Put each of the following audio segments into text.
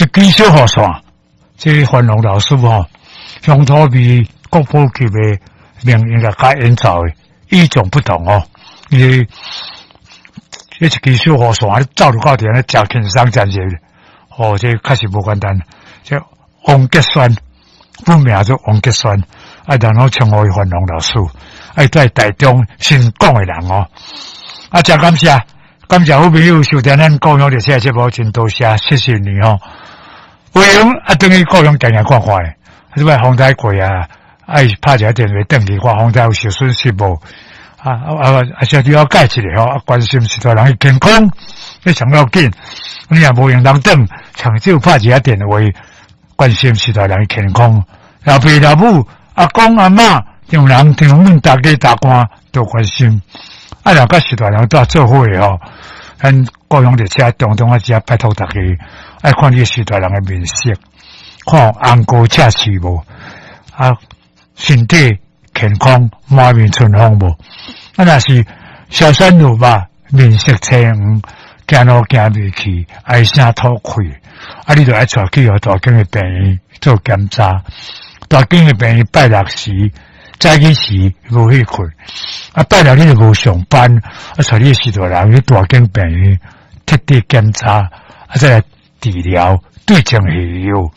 一支小雨傘，這范龍老師吼，鄉土味國寶級的名音樂家演奏的，與眾不同哦。伊這一支小雨傘，走入到佇咧誠輕鬆誠熱，哦，這確實無簡單。這王杰軒，本名做王杰軒，啊，然後稱呼伊范龍老師，啊，伊在台中新港的人哦。啊，誠感謝，感謝好朋友收聽咱故鄉列車節目，真多謝，謝謝你哦。有閒啊，轉去故鄉行行看看的，啊，這擺風災過啊，愛拍一下電話轉去看風災有受損失無？啊啊啊！啊，小了解一下吼，啊，關心序大人的健康，這上要緊。你若無閒通轉，上少拍一下電話，關心序大人的健康。老爸老母、阿公阿嬤、丈人丈母、大家大官都關心。啊，若佮序大人蹛做伙的吼，咱故鄉列車當中啊，遮拜託大家，愛看你序大人的面色，看紅膏赤刺無？啊，身體健康，滿面春風無？啊，若是消瘦如肉，面色青黃，行路行袂去，唉聲吐氣，啊，你就愛帶去予大間的病院做檢查。大間的病院拜六時早起時無去睏，啊，拜六你就無上班，啊，帶你序大人去大間病院徹底檢查，啊，再來治療，對症下藥。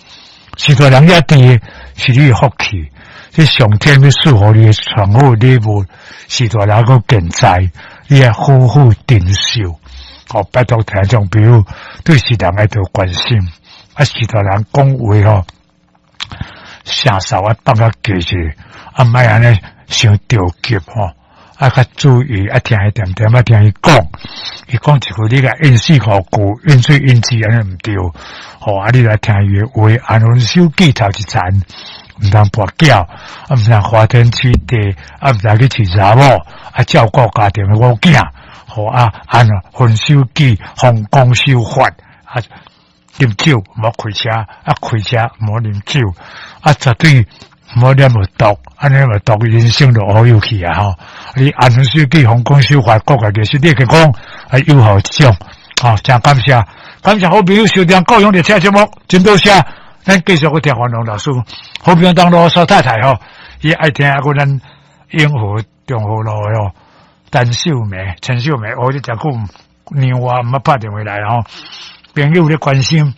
序大人遐甜是你的福氣，這上天欲賜予你的上好禮物，序大人閣健在，你愛好好珍惜。哦，拜託聽眾朋友對序大人愛多關心，啊，序大人講話吼，聲梢愛放較低者，啊，莫按呢傷著急吼，啊，較注意，啊，聽伊恬恬，啊，聽伊講，伊講一句，你共應四五句，應喙應舌按呢毋對，吼，啊，你來聽伊的話，安分守己頭一層，毋通跋筊，啊，毋通花天酒地，啊，毋通去飼查某，啊，照顧家庭的某囝，吼啊，安分守己，奉公守法，啊，啉酒毋好開車，啊，開車毋好啉酒，啊，絕對毋好染著毒，按呢染著毒，人生就烏有去啊！吼，你安分守己，奉公守法，顧家己身體健康，啊，有好一種，吼，誠感謝，感謝好朋友收聽故鄉列車節目，真多謝，咱繼續閣聽范龍老師，好朋友當羅蘇太太吼，伊愛聽啊，閣咱永和中和路的吼，陳秀梅，陳秀梅，哦，這誠久讓我毋捌拍電話來吼，朋友咧關心。